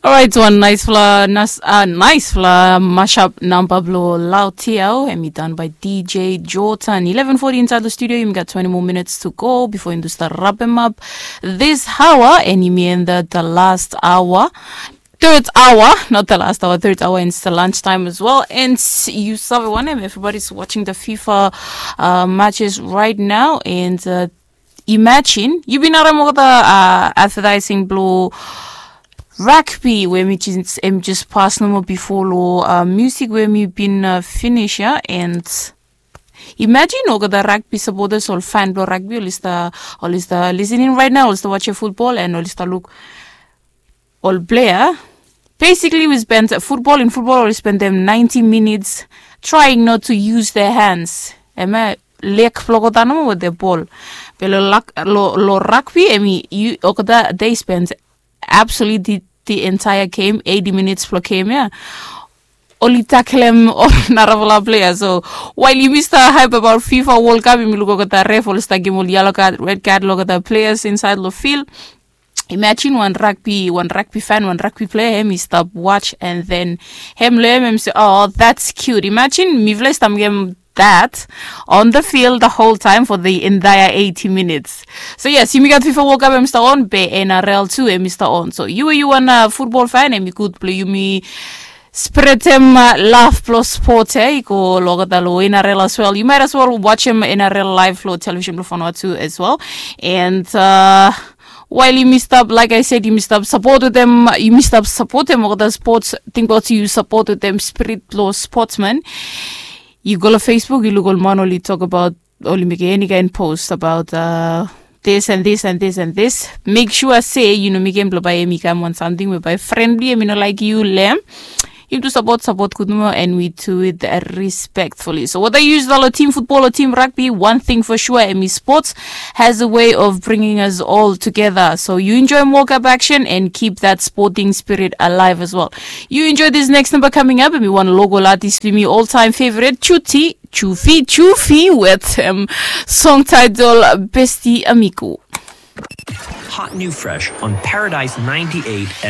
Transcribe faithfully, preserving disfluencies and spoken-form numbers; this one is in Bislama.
Orait, wan naisfala nas, uh, naisfala mashup namba blo Lautiau, em i done by D J Jordan. Eleven forty inside the studio, yumi gat twenty more minutes to go before yumi start wrap em up this hour, and yumi end the, the last hour. Third hour, not the last hour, third hour, and it's the lunch time as well. And you sabi wanem, everybody's watching the FIFA uh, matches right now, and uh, imagine, yu bin harem olgeta uh, advertising blo rugby we mi just, em just pas nomo bifo lo uh, music we mi bin uh, finish ya, and imagine olgeta rugby supporters, ol fan blo rugby, oli sta, oli sta listening right now, oli sta watch football, and oli sta luk ol player. Basically, we spend football, in football oli spend them ninety minutes trying not to use their hands. Em ya, leg blo olgeta nomo with the ball. Be lo, lo, lo rugby, em i, olgeta, they spend absolutely the entire game, eighty minutes blo game ya, oli taklem ol narafala player. So while yumi sta hype about FIFA World Cup, yumi luk olgeta ref oli sta givim ol yellow card, red card lo olgeta players inside lo field. Imagine wan rugby, wan rugby fan, wan rugby player, em i stap watch, and then em lo em, em se, "Oh, that's cute." Imagine mifala i stap mekem that on the field the whole time for the entire eighty minutes. So yes, yumi gat FIFA World Cup, em i sta on, be N R L tu, em i sta on. So yu, yu wan uh, football fan, em i gud blo yumi spretem uh, love blo sport, eh, i go lo olgeta lo N R L as well. You might as well watch em N R L live lo television blo Vanuatu as well. And uh, while yumi stap, like I said, yumi stap support wetem, yumi stap supportem olgeta sports, tingbaot yu support wetem spirit blo sportsman. Yu go lo Facebook, yu luk ol man oli tokbaot, oli mekem eni kaen post about uh, this and this and this and this. Make sure se yu no mekem blo bae em i kam wan samting we bae friendly, em i no laek yu lo em. Yumi tu support, support gud nomo, and we do it respectfully. So whether yu sta lo team football o team rugby, one thing for sure, em i sports has a way of bringing us all together. So you enjoy World Cup action and keep that sporting spirit alive as well. You enjoy this next number coming up, em i wan local artist, em i all time favorite, Chuti Chufi Chufi, with um, song title Besti Amigo. Hot new fresh on Paradise ninety-eight